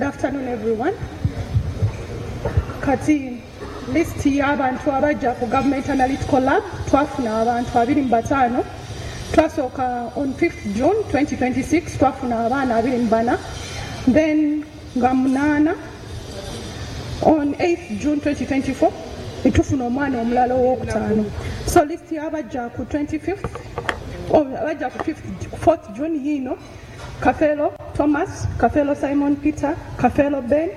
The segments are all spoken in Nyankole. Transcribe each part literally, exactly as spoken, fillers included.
Afternoon, everyone. Kati list y'abantu abajja ku Government Analytical Lab, twafuna abantu abiri mu bataano. Twasooka on fifth June twenty twenty-six, twafuna abaana abiri mu bana, then nga munaana. On eighth June twenty twenty-four netufuna omwana omulala owokutaano. So list y'abajja ku twenty-fifth, oh, abajja ku fifth, fourth June yiino: Kafeero Thomas, Kafeero Simon Peter, Kafeero Ben,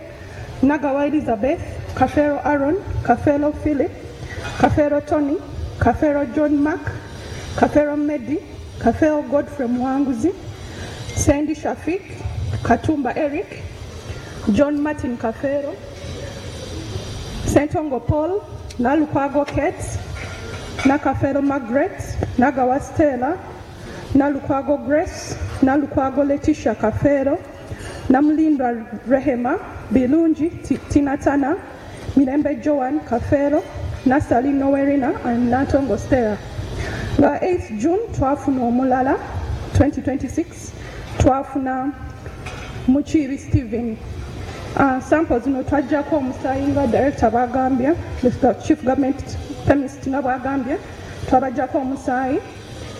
Nagawa Elizabeth, Kafeero Aaron, Kafeero Philip, Kafeero Tony, Kafeero John Mark, Kafeero Medi, Kafeero Godfrey Muwanguzi, Sandy Shafik, Katumba Eric, John Martin Kafeero, Sentongo Paul, Nalukwago Kate, Nakafeero Margaret, Nagawa Stella, Nalukwago Grace, Nalukwago Letitia Kafeero, Namulindwa Rehema, Bilungi Ti- Tinatana, Mirembe Joan Kafeero, Nasali Nowerina and Nantongo Stella. Nga eighth June twafuna omulala twenty twenty-six, twafuna Mukiibi Stephen. Uh, sample zino twaggyako omusaayi nga director bwagambye, the chief government chemist nga bwagambye, twabaggyako omusaayi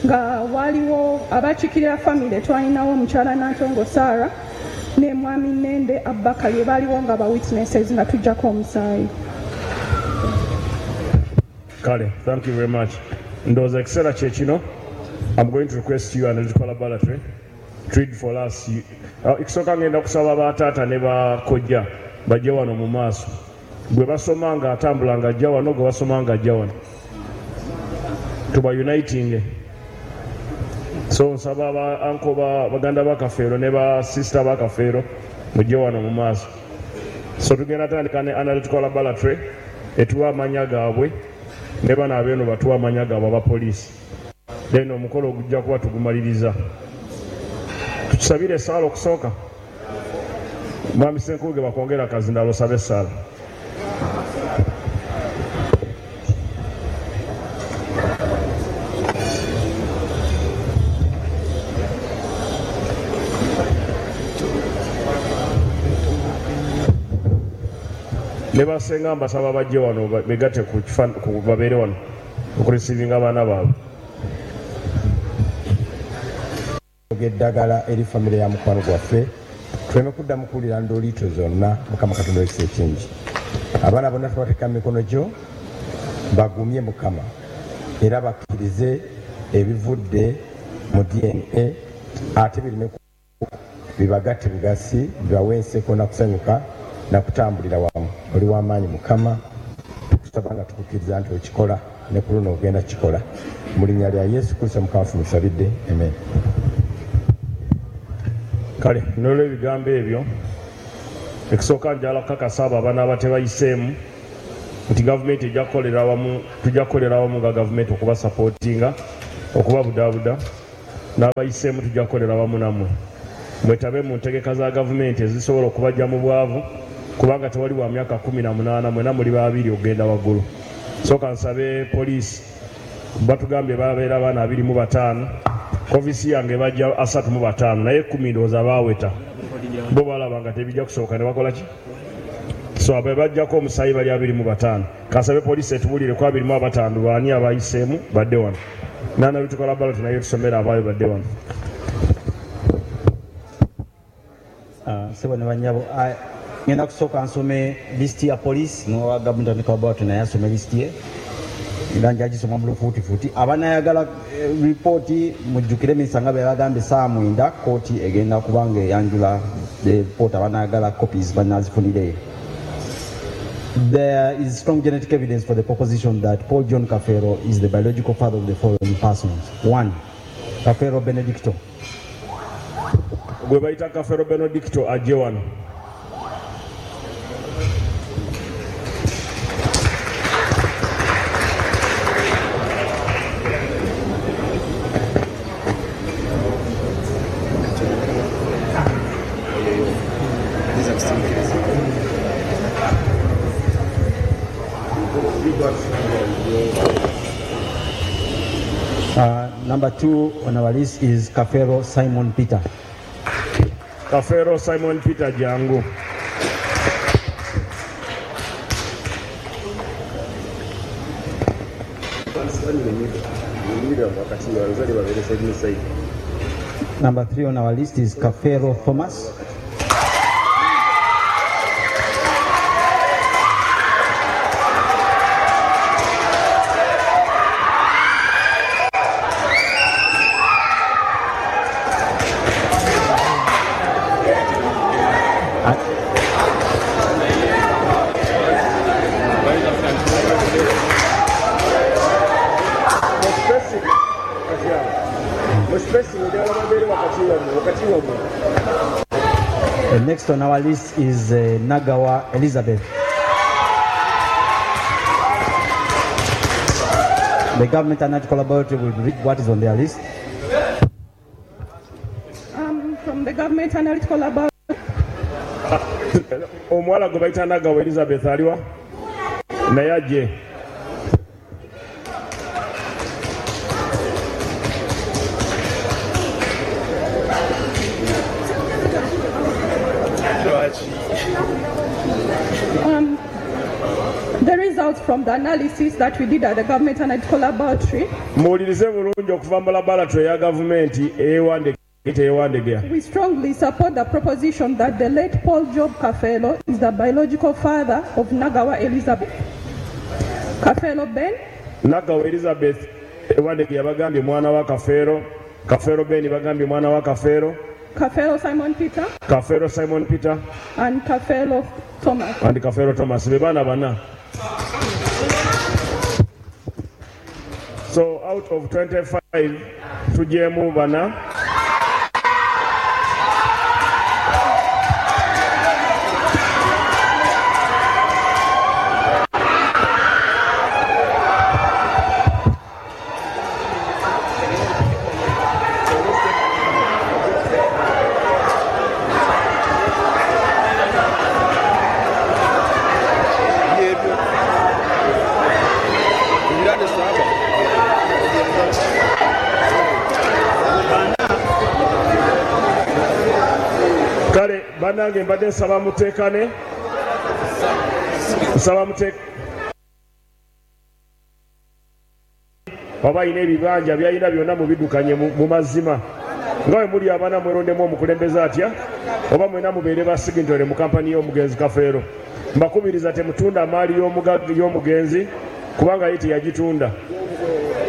nga waliwo abakiikirira family. Twalinawo omukyala Nantongo Sarah ne mwami Nende Abubakari, baaliwo nga ba witnesses nga tuggyako omusaayi. Kale, thank you very much. Ndowooza ekiseera kye kino. I'm going to request you, Analytical Laboratory, to read for us. You- uh, ekisooka ngenda kusaba bataata ne bakojja bajje wano mu maaso. Gwe basoma ng'atambula ng'ajja wano, gwe basoma ng'ajja wano, tuba uniting. So nsaba ba uncle, ba baganda ba Kafeero ne ba sister ba Kafeero mujje wano mu maaso. So tugenda tandika ne Analytical Laboratory etuwa amanya gaabwe, ne bano abeeno batuwa amanya gaabwe abapoliisi, then omukolo gujja kuba tugumaliriza. Tukisabire essaala okusooka. Mwami Senkubuge, bakwongera akazindalo, osabe essaala. Ne basenga mbasaba bajje wano, ba- begatte ku kifa- ku- babeere wano okureceivinga abaana baabwe. Eddagala eri famire ya mukwano gwaffe, tuleme kuddamu kuwulira ndooliito zonna. Mukama Katonda wekisa ekingi, abaana bonna tubateeka mu mikono gyo. Bagumye Mukama, era bakkirize ebivudde mu D N A, ate bireme bibagatte bugasi, bibawe enseko nakusanyuka nakutambulira wamu. Oli w'amaanyi Mukama, tukusaba nga tukukkiriza nti okikola, ne ku luno ogenda kikola. Mu linnya lya Yesu Kristo Mukama waffe musabidde, amen. Kale nolwebigambo ebyo, ekisooka njala kukakasa abo abanaaba tebayiseemu nti gavumenti ejja kukolera wamu, tujja kukolera wamu nga gavumenti okubasupportinga, okubabudaabuda. N'abayiseemu tujja kukolera wamu nammwe, mwetabe mu ntegeka za gavumenti ezisobola okubajja mu bwavu, kubanga tewali wa myaka kumi na munaana, mwena muli babiri okugenda waggulu. Sooka nsabe poliisi, batugambye babeera abaana abiri mu bataano, ofisi yange bajja asatu mu bataano, naye kumi ndowooza baaweta bo balaba nga tebijja kusoboka ne bakola ki. So abe bajjako omusaayi bali abiri mu bataano. Kasabe poliisi etubulire ku abiri mu abataano baani abayiseemu badde wano. Nana bitukola balot naye tusomera abaayo badde wano. Ah, sebo ne banyabo, ah, ngenda kusooka nsome lisiti ya poliisi, nowa gavumenti laboratory naye asome lisiti ye, era njagisoma mu lufuutifuuti. Abanayagala eh, ripooti, mujjukire minisita nga bwe yabagambye, saa mwenda kooti egenda kuba nga eyanjula ripooti. Abanayagala copies banazifunireyo. There is strong genetic evidence for the proposition that Paul John Kafeero is the biological father of the following persons. One, Kafeero Benedicto. Gwe bayita Kafeero Benedicto ajje wano. Uh, number two on our list is Kafeero Simon Peter. Kafeero Simon Peter, jangu. Stand in the middle. In the middle wakati abazadde babeere side ne side. Number three on our list is Kafero Thomas. Mu space kati awo. Mu space njagala babeere wakati wammwe wakati wammwe. The next on our list is uh, Nagawa Elizabeth. The government analytical laboratory will read what is on their list. Um, from the Government Analytical Laboratory, Omuwala gwe bayita Nagawa Elizabeth aliwa naye ajje. um, the results from the analysis that we did at the Government Analytical Laboratory, Muwulirize bulungi okuva mu laboratory eya gavumenti ey'e Wandegeya ey'e Wandegeya. we strongly support the proposition that the late Paul Job Kafeero is the biological father of Nagawa Elizabeth. Kafeero Ben, Nagawa Elizabeth e Wandegeya bagambye mwana wa Kafeero, Kafeero Ben bagambye mwana wa Kafeero, Kafeero Simon Peter, Kafeero Simon Peter and Kafeero Thomas. and Kafeero Thomas be baana bana. So out of twenty-five tugyemu bana. Byebyo. Ebirade saba. Kale bannange mbadde nsaba muteekane, nsaba mute oba alina ebibanja byalina byonna mubiddukanye mu mu mazima nga bwe muli abaana mwerondemu omukulembeze atya oba mwena mubeere ba signatory mu kampani y'omugenzi Kafeero. Mbakubiriza temutunda maali y'omuga- y'omugenzi kubanga ye teyagitunda.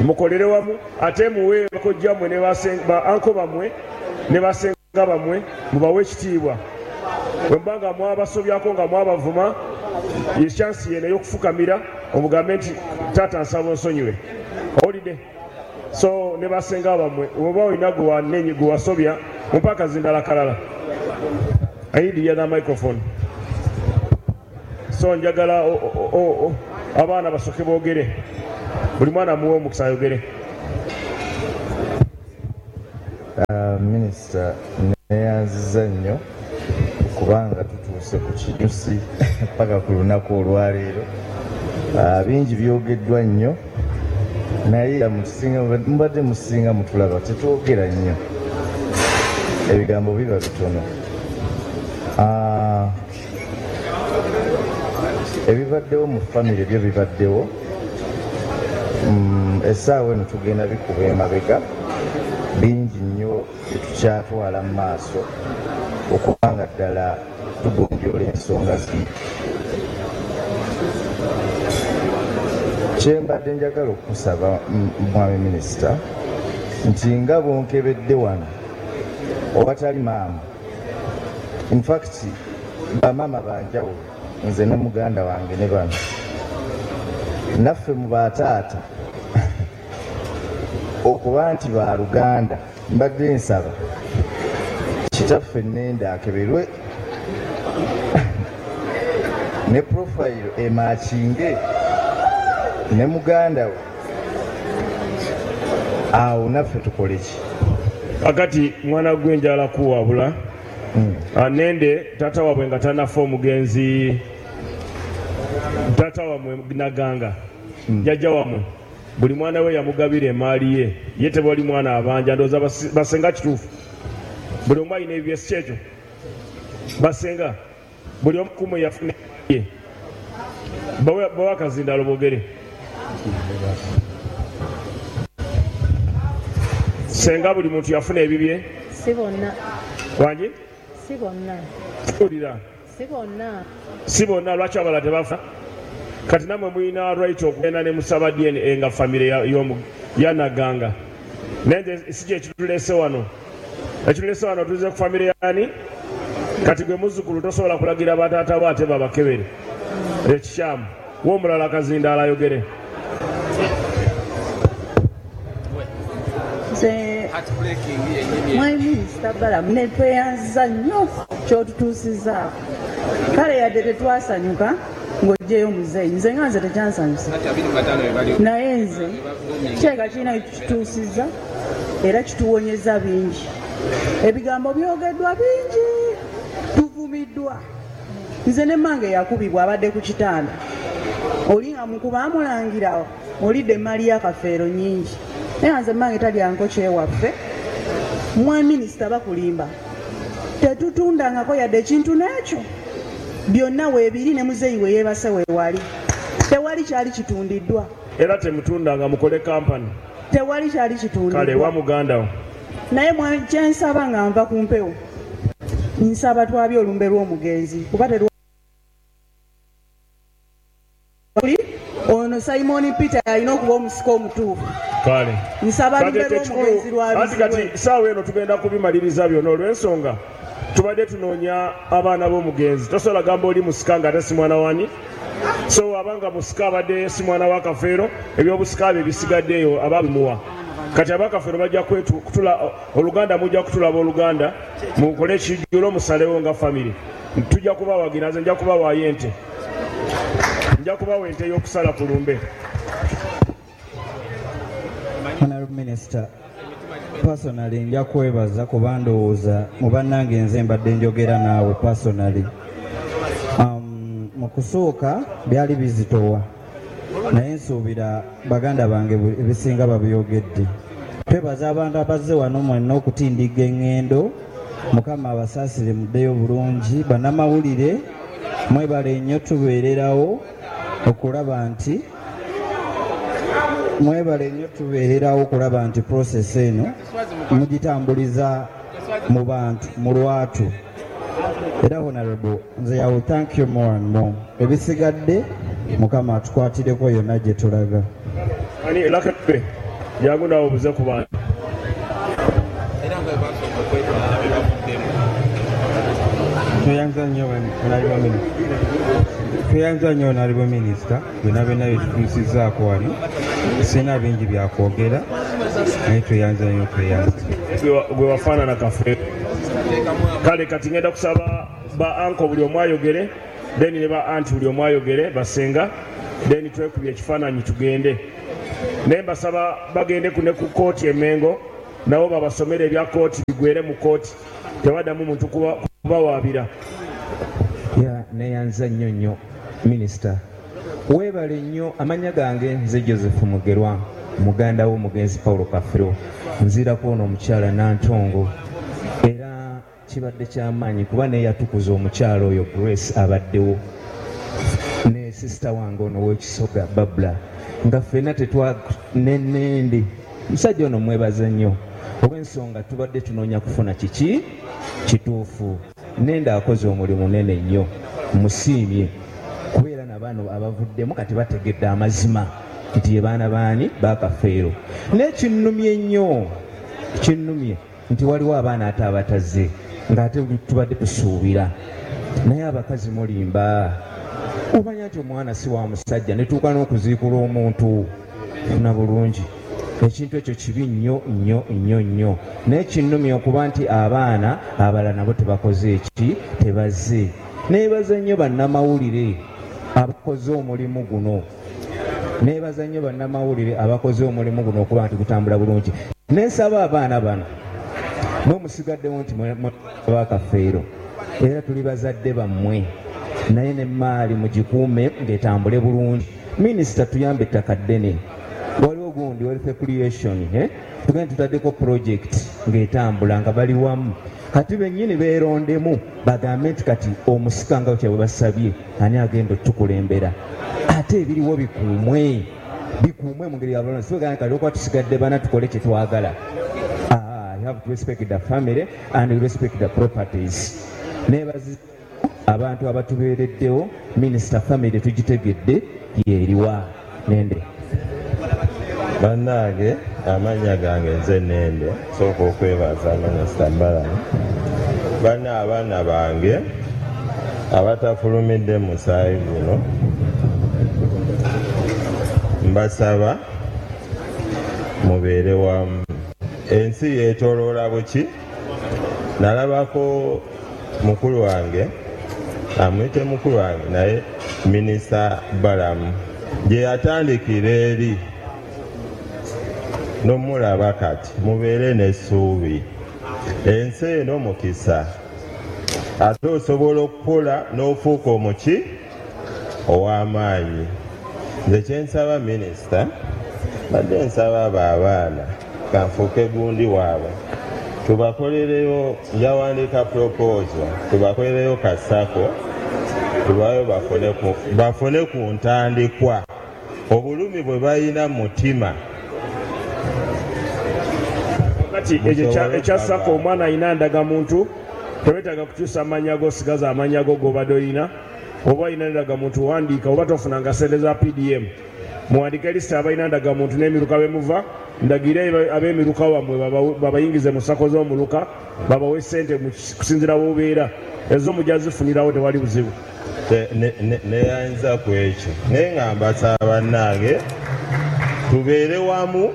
Mukolere wamu ate muwe bakojja mmwe ne basen- ba anko bammwe ne basenga bammwe mubawe ekitiibwa. Bwe muba nga mwabasobyako nga mwabavuma, ye chance yeno ey'okufukamira omugambe nti taata nsaba onsonyiwe. Owulidde? So ne basenga bammwe oba olina gwe wanenye gwe wasobya mumpe akazindala kalala. I need the other microphone. So njagala o- o- o- o- abaana basooke boogere. Buli mwana muwe omukisa ayogere. Minisita, neyanziza nnyo kubanga tutuuse ku kinyusi paka ku lunaku olwaleero. Ah, bingi byogeddwa nnyo naye mutusinga- mubadde musinga mutulaba tetwogera nnyo, ebigambo biba bitono. Ah, ebibaddewo mu famire byo bibaddewo. Mm, essaawa eno tugenda bikuba emabega bingi nnyo byetukyatwala mu maaso okubanga ddala tugonjoola ensonga zino. Kyembadde njagala okusaba m- mwami minisita nti nga bwonkebedde wano owatali maama, infact bamaama banjawulo, nze ne muganda wange ne bano naffe mu bataata okuba nti baluganda, mbadde nsaba kitaffe nenda akeberwe ne profile emakinge ne muganda we, awo naffe tukole ki? Kakati mwana gwe njala kuwabula. Nende taata waabwe nga tanafa omugenzi taata wammwe Naganga jjajja wammwe buli mwana we yamugabira emaali ye, ye tebali mwana abanja. Ndowooza basi- basenga kituufu, buli omu alina ebibye, si kyekyo basenga? Buli omu kumwe yafuna emaali ye. Bawe bawe akazindalo boogere. Senga buli muntu yafuna ebibye? Si bonna. Wangi? Si bonna. Wulira. Si bonna. Si bonna, lwaki abalala tebafa? Kati nammwe mulina right okugenda ne musaba D N A nga famire ya- y'omu- ya Naganga, naye nze si kyekituleese wano. Ekituleese wano, tuze ku famire yani. Kati gwe muzzukulu tosobola kulagira bataata bo ate babakebere, ekikyamu. W'omulala akazindaala ayogere. Nze mwami Minisita Balamu, ne tweyanziza nnyo kyotutuusizaako. Kale yadde tetwasanyuka ng'oggyeyo muzeeyi, nze nga nze tekyansanyusa, naye nze kyeka kirina kitutuusiza era kituwonyeza bingi. Ebigambo byogeddwa bingi, tuvumiddwa. Nze ne mmange yakubibwa, abadde ku kitanda, oli nga mukuba amulangira olidde emaali ya Kafeero nyingi, naye nze mmange talyanko kyewaffe. Mwa minisita, bakulimba, tetutundangako yadde ekintu n'ekyo. Byonna weebiri, ne muzeeyi we yeebase weewali, tewali kyali kitundiddwa. Era temutundanga, mukole kampani. Tewali kyali Kale kitundiddwa. Wa muganda wo. Naye mwa- kyensaba nga nva ku mpewo, nsaba twabye olumbe lw'omugenzi, kuba terwali ono Simon Peter alina okuba omusika omutuufu. Kale. Nsaba Kati lumbe ekikulu lw'omugenzi anti kati lwabizibwe. saawa eno tugenda kubimaliriza byonna, olw'ensonga tubadde tunoonya abaana b'omugenzi. Tosobola gamba oli musika nga ate si mwana wani. So abanga musika abadde si mwana wa Kafeero, ebyobusika bye bisigaddeeyo ababimuwa. Kati abakafeero bajja kwetu- kutula oluganda, mujja kutulaba oluganda, mukole ekijjulo, musalewo nga famire. Tujja kubawagira. Nze nja kubawaayo ente, nja kubawa ente ey'okusala ku lumbe. Honorable Minister, personally nja kwebaza kuba ndowooza mu bannange nze mbadde njogera naawe personally. Um, mu kusooka byali bizitowa, naye nsuubira baganda bange bu- ebisinga babyogedde. Twebaza abantu abazze wano mwenna okutindigga eŋŋendo. Mukama abasaasire, muddeyo bulungi. Bannamawulire mwebale nnyo, tubeererawo okulaba nti mwebale nnyo, tubeererawo okulaba nti process eno mugitambuliza mu bantu mu lwatu. Era honorable, nze I will thank you more and more. Ebisigadde Mukama atukwatireko yonna gye tulaga. Ani lakebe, jangu naawe obuze ku bantu. Era nga bwe basooka okwetwala bebavuddemu. Tweyanza nnyo, honorable minisita. Tweyanza nnyo, honorable minisita, byonna byonna byetutuusizzaako wano. Sirina bingi byakwogera, naye tweyanza nnyo, tweyanza. Gwe wa- gwe wafaanana Kafeero. Kale kati ngenda kusaba ba uncle buli omu ayogere, then ne ba auntie buli omu ayogere, basenga, then twekubye ekifaananyi tugende. Naye mbasaba bagende ku ne ku kooti emengo, nabo babasomere ebya kooti, bigwere mu kooti, tebaddamu muntu kuba- kubawaabira. Ya, neyanza nnyo nnyo minisita, weebale nnyo. Amannya gange nze Joseph Mugerwa, muganda w'omugenzi Paulo Kafero. Nzirako ono omukyala Nantongo, era kibadde kyamaanyi kuba neyatukuza omukyala oyo Grace abaddewo ne sisita wange ono ow'ekisoga Babula, nga ffenna tetwa nenende. Musajja ono mwebaza nnyo olw'ensonga tubadde tunoonya kufuna kiki kituufu. Nenda akoze omulimu munene nnyo, musiimye kubeera nabaano abavuddemu kati bategedde amazima nti ye baana baani Bakafeero. Naye kinnumye nnyo, kinnumye nti waliwo abaana ate abatazze ng'ate tubadde tusuubira. Naye abakazi mulimba, omanya nti omwana si wa musajja, netuuka n'okuziikula omuntu funa bulungi. Ekintu ekyo kibi nnyo nnyo nnyo nnyo. Naye kinnumye okuba nti abaana abalala nabo tebakoze eki, tebazze. Neebaza nnyo bannamawulire abakoze omulimu guno, neebaza nnyo bannamawulire abakoze omulimu guno okuba nti gutambula bulungi. Nensaba abaana bano mwe musigaddewo nti Bakafeero, era tuli bazadde bammwe, naye nemmaali mugikuume ng'etambule bulungi. Minisita, tuyambe ettaka ddene, waliwo gundi wealth creation, eh? Tugende tutaddeko project ng'etambula nga bali wamu. Kati bennyini beerondemu bagambe nti kati omusika nga kyabwe basabye ani agenda otukulembera, ate ebiriwo bikuumwe, bikuumwe mu ngeri ya bulungi. Sibegaa kati okuba tusigadde bana tukole kye twagala. have to respect the family and respect the properties. Neebaza abantu abatubeereddewo. Minisita, family tugitegedde yeeriwa nende. Bannange, amannya gange nze Nende. Sooka okwebaza Minisita Balamu. Banna, abaana bange abatafulumidde musaayi guno, mbasaba mubeere wamu. Ensi yeetoloola buki. Nalabako mukulu wange, amuyite mukulu wange, naye Minisita Balamu gye yatandikira eri nomulaba kati. Mubeere n'essuubi, ensi eno mukisa, ate osobola okukola n'ofuuka omuki ow'amaanyi. Nze kyensaba minisita, badde nsaba abo abaana kanfuuke gundi waabwe, tubakolereyo, njawandiika proposal, tubakolereyo ka SACCO, tubayo bafune ku, bafune ku ntandikwa, obulumi bwe balina mu mutima. Kati ekyo ekya SACCO, omwana alina ndagamuntu, tewetaaga kukyusa amannya go, sigaza amannya go gobadde olina. Oba olina ndagamuntu, wandiika. Oba tofunanga sente za P D M, muwandiike lisiti abalina ndagamuntu n'emiruka bemuva, ndagire ab'emiruka wammwe babayingize mu SACCO z'omuluka, babawe sente kusinziira wobeera. Ezo mujja zifunirawo, tewali buzibu. Neyanza ku ekyo, naye nga mbasaba bannange tubeere wamu,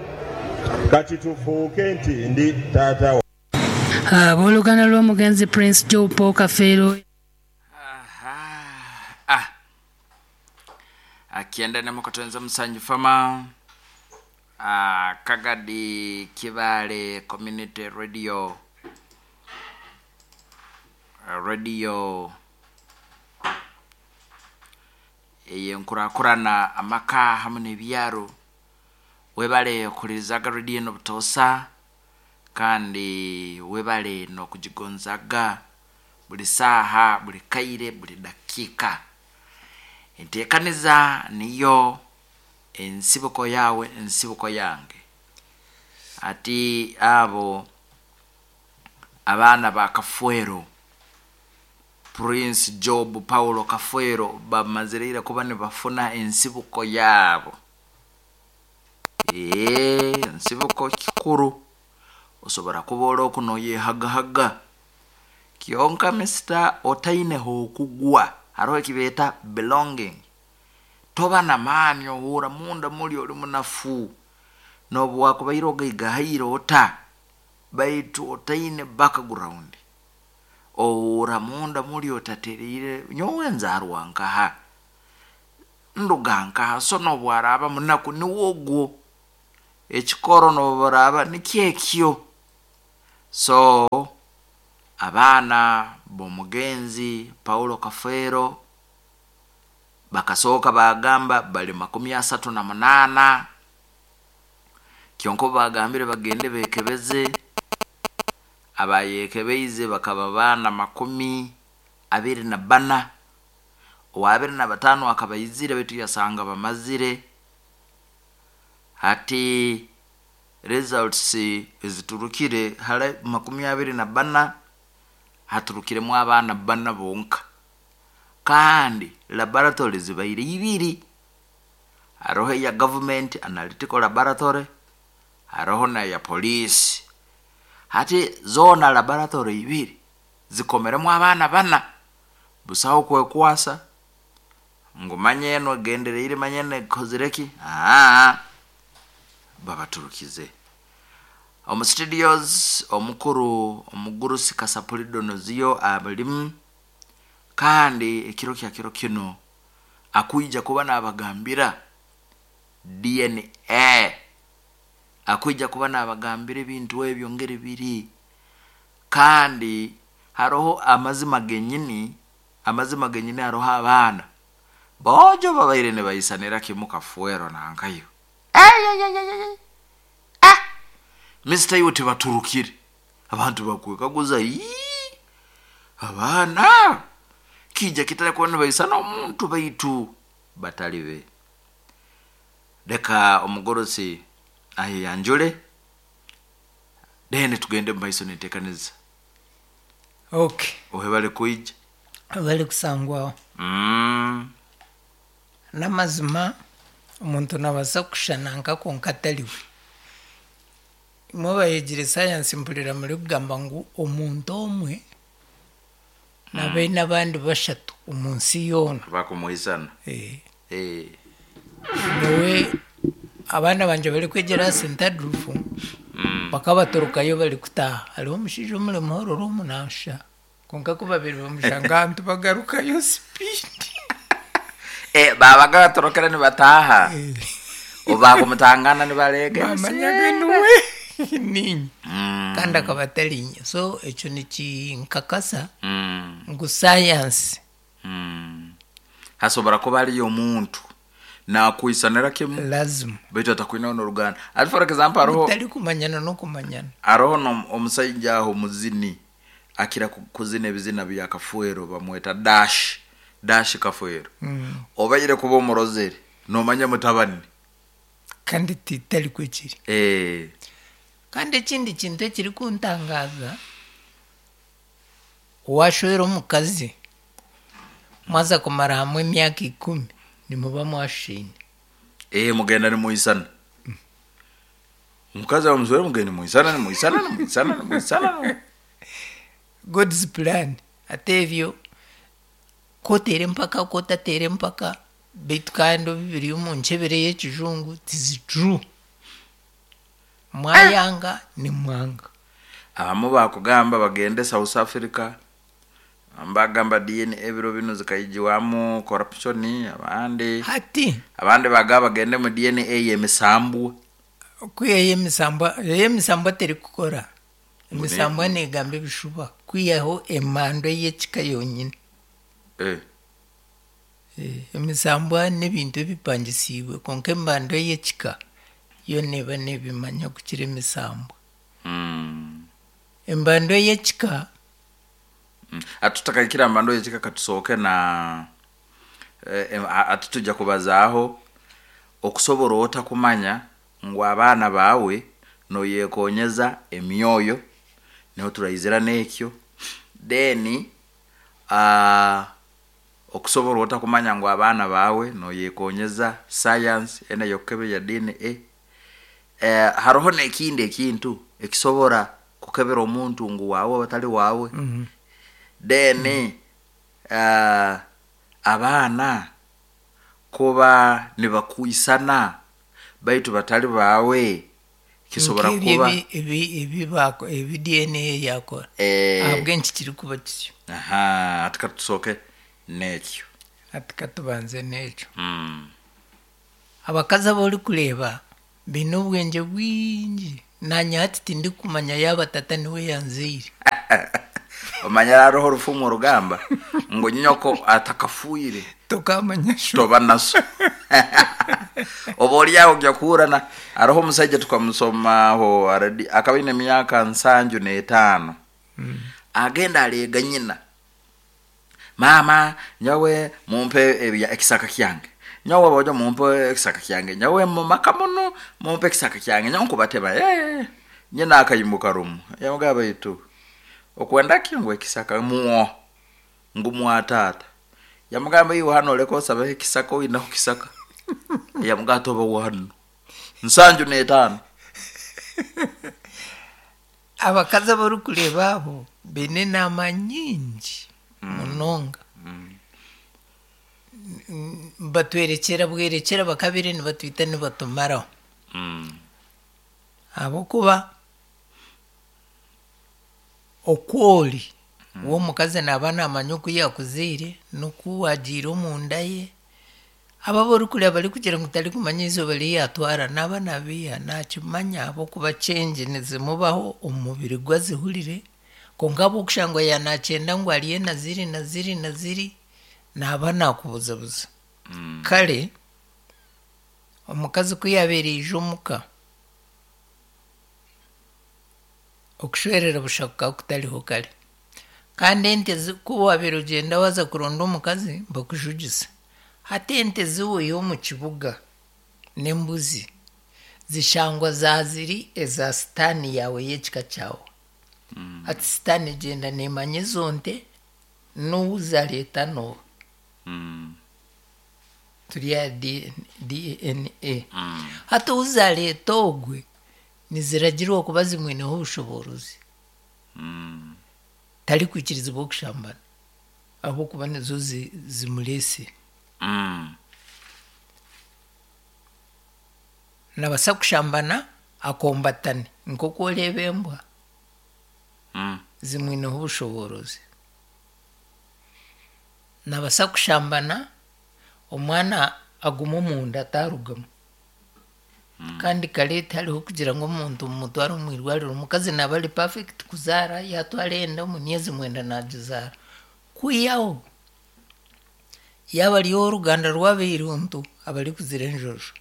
kati tufuuke nti ndi taata. Abooluganda lw'omugenzi Prince Joe Paul Kafeero. Ah, akienda nemukatonza musanju fama, ah, Kagadi Kibale Community Radio, radio eyenkurakurana amaka hamwe n'ebyaro. Webale okuhulirizaga radio eno butoosa, kandi webale n'okugigonzaga buli saaha, buli kaire, buli dakiika. Enteekaniza niyo ensibuko yawe, ensibuko yange. Ati abo abaana ba Kafwero, Prince Job Paulo Kafwero, bamazireire kuba nibafuna ensibuko yaabo. Ee, ensibuko kikuru. Osobora kuba ori oku noyehagahaga, kyonka misita otaineho okugwa, hariho ekibeeta belonging, toba namaani, ohuura munda muri ori munafu. Nobu wakubaire ogaigahaire ota, baitu otaine background, ohuura munda muri otatereire. Nyowe nzaarwa nkaha, nduga nkaha? So nobu araba munaku, niwe ogwo ekikoro, nobu baraba nikyekyo. So abaana b'omugenzi Paulo Kafeero bakasooka bagamba bali makumi asatu na munaana, kyonka obu bagambire bagende bekebeze, abayekebeize bakaba baana makumi abiri na bana. Owabiri na bataano akaba aizire, baitu yasanga bamazire. Hati results eziturukire, hali makumi abiri na bana haturukiremu abaana bana bonka, kandi laboratory zibaire ibiri: hariho eya government analytical laboratory, hariho neya police. Hati zoona laboratory ibiri zikomeremu abaana bana. Busaho kwekwasa ngu manye eno egendereire, manye eno ekozire ki. Aa, babaturukize. Omu studios, omukuru omugurusi Kasapuli Donoziyo abalimu, kandi ekiro kya kiro kino akwija kuba nabagambira D N A, akwija kuba nabagambira ebintu ebyo ngeri biri, kandi hariho amazima genyini, amazima genyini. Hariho abaana bojo babaire nibaisanira kimu Kafuero nankayo. Ah, Mister iwe tibaturukire, abantu bakwekaguza, "Ii, abaana kija kitari kuba nibaisana omuntu, baitu batali be." Leka omugorosi ayeyanjule. Then tugende mu maiso nenteekaniza. Okay. Ohebale kwija. Bari kusangwaho. Mm. N'amazima omuntu nabaasa kushushana nka konka atariwe. Imwe abayegire sayansi mpurira muri kugamba ngu omuntu omwe nabe n'abandi bashatu omu nsi yoona. Bakumuhisana. Eh. Eh. Nyowe abaana bangye barikwegyera aha Saint Adolf Mm. bakabatorokayo bari kutaaha. Hariho omushaija omuri Muhororo omu naashusha konka ku babiri bamushanga ahantu bagarukayo speed. Eh, babaga batorokera nibataaha. Obakumutangana nibarega. Bamanyaga niwe ninye. Mm. Kandi akaba atari inye. So ekyo nikinkakasa Mm. ngu sayansi Mm. Hasobora kuba hariyo omuntu nakwisanira kimu lazima baitu atakwinaho n'oruganda. Ati for example hariho mutari kumanyana n'okumanyana. hariho no- omusaija aho muzini akira ku- kuzina ebizina bya Kafuero bamweta Dash Dash Kafuero. Mm. Obaire kuba omurozere nomanya mutabani Kandi titari kwekiri. eh Kandi ekindi kintu ekirikuntangaza washwera omukazi mwaza kumara hamwe emyaka ikumi nimuba mwashushine. eh mugenda nimuisana omukazi amuswere mugenda nimuisana nimuisana nimuisana nimuisana. God's plan ate ebyo koteera empaka kotateera empaka baitu kandi biri omu nkyebere y'ekijungu tizi true. Mwayanga nimwanga. Abamu bakugamba bagende South Africa mbagamba D N A ebiro bino zikaijiwamu corruption abandi hati abandi bagaba bagende mu D N A y'emisambwa. Kwiha y'emisambwa y'emisambwa terikukora. Emisambwa negamba ebishuba kwihaho emando y'ekika yonyine. Eh. Eh, emisambwa n'ebintu ebipangisiibwe konka embando y'ekika yo neba nebimanya kukira emisambwa. Mm. Embando y'ekika Mm. Atutakaikira mbando y'ekika katusooke na eh, atutujja kubazaaho okusobola otakumanya ngu abaana baawe noyekonyeza emyoyo niho turayizira n'ekyo then uh, okusobola otakumanya ngu abaana baawe noyekonyeza science ena yokukebera ya D N A. Eh, hariho n'ekindi ekintu ekisobora kukebera omuntu ngu waawe batali waawe. Mm -hmm. Then mm -hmm. uh, abaana kuba nibakuisana baitu batali baawe kisobora kuba ebi ebi bako ebi D N A yakora eh, ahabwenki kiri kuba kityo. Aha, atika tusoke n'ekyo atika tubanze n'ekyo. Mm. Abakazi abori kureeba baine obwengye bwingi nanye hati tindikumanya yaaba tata niwe yanzaire. Omanya hariho orufumu orugamba ngu nyoko atakafuire tokamanya sho toba naso. Oba oli aho ojja kuhurana hariho omusajja tukamusomaho already akaba aine emyaka nsanju n'etaano. Mm. Agenda areega nyina, mama nyawe mumpe ebya ekisaka kyange, nyawe bojo mumpe ekisaka kyange, nyawe mumaka muno mumpe ekisaka kyange, nyawe nkubateba eh nyina akayimuka rumu yamugaba itu okwenda ki ngu ekisaka muo ngu mwatata yamugamba iwe hano leko osaba ekisaka oyina ku kisaka yamugamba toba wano nsanju n'etaano. Abakazi abarikureeba abo baine enaama nyingi munonga. Batwerekyera bwerekyera bakabire nibatwita nibatumaraho. Ahabw'okuba okwori w'omukazi naaba naamanya oku yakuzaire n'oku wagiire omunda ye. Abo abarikureeba barikugira ngu tarikumanya eizooba ri yatwara naaba nabiiha nakimanya ahabw'okuba change nizimubaho omu mubiri gwe azihurire. Konka ahabw'okushangwa yanakyenda ngu ariye na ziri na ziri na ziri naaba nakubuzabuza. Kare omukazi ku yabeire aija omuka okushwerera busha kukaba kutariho kare. Kandi ente ku wabeire ogyenda waza kuronda omukazi bakujugisa. Hati ente ziweyo omu kibuga n'embuzi Zishangwa zaziri eza sitaani yawe y'ekika kyawe. Ati sitaani egyenda neemanya ezo nte n'ou zareeta n'oha. Turi aha D N A. Hati ou zareeta ogwe niziragirwa kuba zimwineho obushoboorozi, tarikwikirizibwa okushambana ahabw'okuba nizo zi- zimureesire. Nabasa kushambana akombatane nk'oku oreeba embwa, zimwineho obushoboorozi. Nabasa kushambana omwana aguma omunda atarugamu. Kandi kare tihariho kugira ngu omuntu mumutware omu irwariro. Omukazi naaba ari perfect kuzaara, yatwara enda omu myezi mwenda nagizaara. Kwihaho yaaba ari ow'oruganda rw'abairuntu abarikuzira enjojo,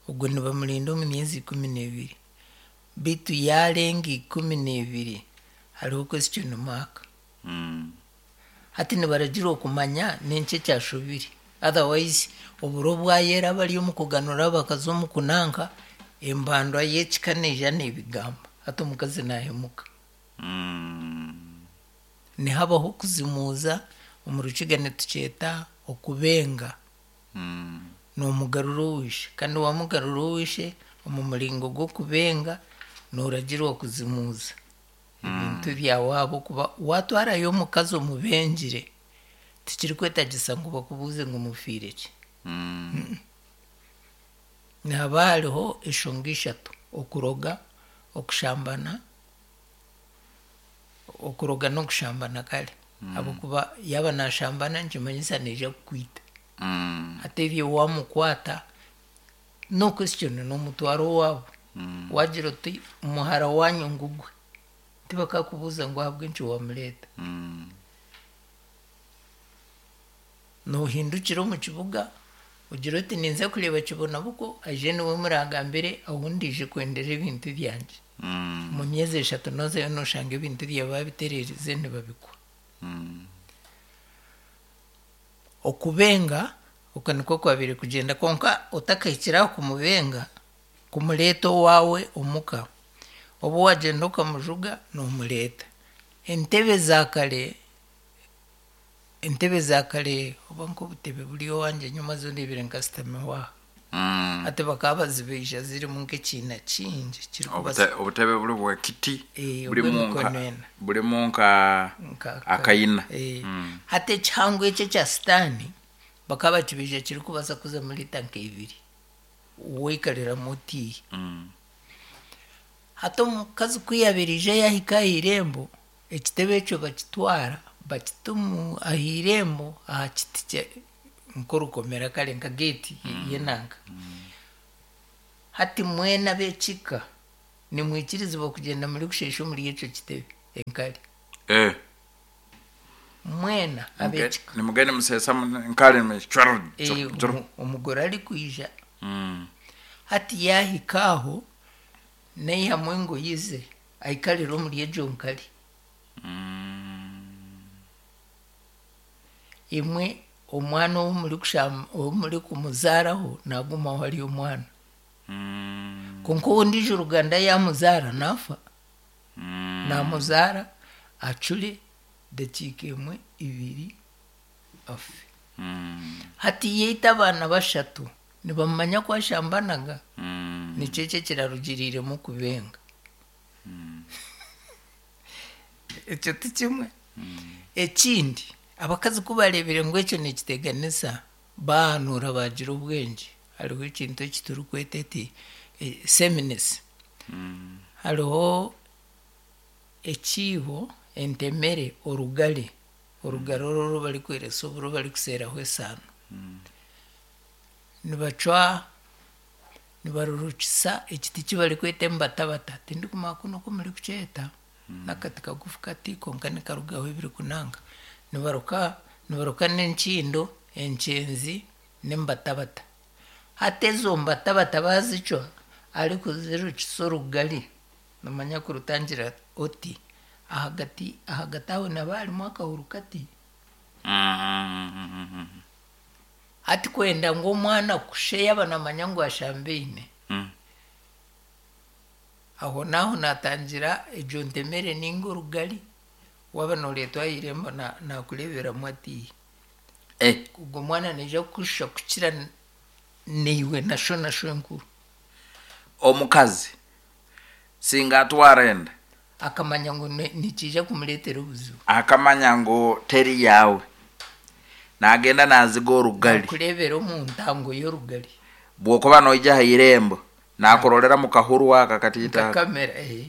ogwo nibamurinda omu myezi ikumi n'ebiri, beitu yarenga ikumi n'ebiri hariho question mark. Hati nibaragirwa okumanya n'enki ekyashobire, otherwise oburo bwayera bari omu kuganura bakaza omu kunanka embandwa y'ekika neija n'ebigamba hati omukazi nahemuka. Nihabaho okuzimuuza, omu Rukiga nitukyeta okubenga, nomugarura owishe, kandi wamugarura owishe omu muringo gw'okubenga noragirwa kuzimuuza ebintu byawe, ahabw'okuba watwarayo omukazi omubengire tikirikwetagisa ngu bakubuuze ngu mufiire ki. Nihaba hariho eshonga ishatu: okuroga, okushambana, okuroga n'okushambana. Kare ahabw'okuba yaaba nashambana nikimanyisa naija kukwita. Hati ebyo wamukwata, no question, nomutwara owaabo, wagira oti muhara wanyu ngugwe, tibakakubuuza ngu ahabw'enki wamureeta. Nohindukira omu kibuga ogira oti ninza kureeba Kibonabuko, aije niwe muragambire ahu ndije kwendera ebintu byangye. Omu myezi eshatu nozayo noshanga ebintu byawe babitererize nibabikwa. Okubenga okwo nikwo kwabaire kugyenda, konka otakahikire aho kumubenga, kumureeta owaawe omuka, obu wagyenda okamujuga nomureeta. Entebe za kare, entebe za kare oba nk'obutebe buri owangye nyuma zo ndebire nkasitamiho aha, hati bakaba bazibeija zirimu nk'ekiina kingi kirikubasa Obute- obutebe buri bwekiti Eh, burimu nka obw'emikono ena. Burimu nka Nka- akayina. Eh. Mm. Hati ekihango ekyo ekya sitaani bakaba bakibeija kirikubasa kuzamu lita nk'ebiri waikariramu otiihe. Mm. Hati omukazi ku yabaire aija yahika aha irembo, ekitebe ekyo bakitwara bakita omu aha irembo aha kiti kya- nk'orukomera, kare nka geeti y'enanka. Hati mwena ab'ekika nimwikirizibwa kugenda muri kusheesha omuri ekyo kitebe enkari. Eh. Mwena ab'ekika. Nimugende musesa nkali. Eh, omu- omugore arikwija, Mm. hati yahika aho naihamu engoyi ze aikarira omuri egyo nkari. Imwe omwana ou muri kusham- ou muri kumuzaaraho nagumaho ari omwana, konka owondiijo ruganda yamuzaara nafa, namuzaara acure dakiika emwe ibiri afe. Hati yaita abaana bashatu nibamanya ku ashambanaga, nikyo ekyo ekirarugiriremu kubenga. Ekyo ti kimwe. Ekindi, abakazi ku barebire ngu ekyo nikiteganisa, bahanuura bagira obwengye. Hariho ekintu eki turikweta eti seminisi. Hariho ekiibo, entemere, orugari, orugari oru oru barikweresa oburo barikuseeraho esaano, nibacwa nibarurukisa ekiti ki barikweta embatabata, tindikumanya kunu oku murikukyeta, n'akati kagufu kati konka nikarugaho ebirikunanga. Nibaruka nibaruka n'enkindo, enkyenzi n'embatabata. Hati ezo mbatabata bazicwa arikuzirukisa orugari, nomanya kurutangira oti ahagati ahagati aho naba harimu akahuru kati. Hati kwenda ngu omwana kushe yaba namanya ngu ashambaine, Aho naaho natangira egyo ntemere ninga orugari, waaba nooreetwa aha irembo na- nakureeberamu ati Eh. ogwo mwana naija kukushusha kukira naiwe na sho na shwenkuru. Omukazi singa atwara enda akamanya ngu ni- nikiija kumureetera obuzibu, akamanya ngu teri yawe, nagenda naziga orugali, kureebera omu ntango y'orugari. Bwokuba noija ha irembo nakurorera mu kahuru aka katiita. Nka kamera eh.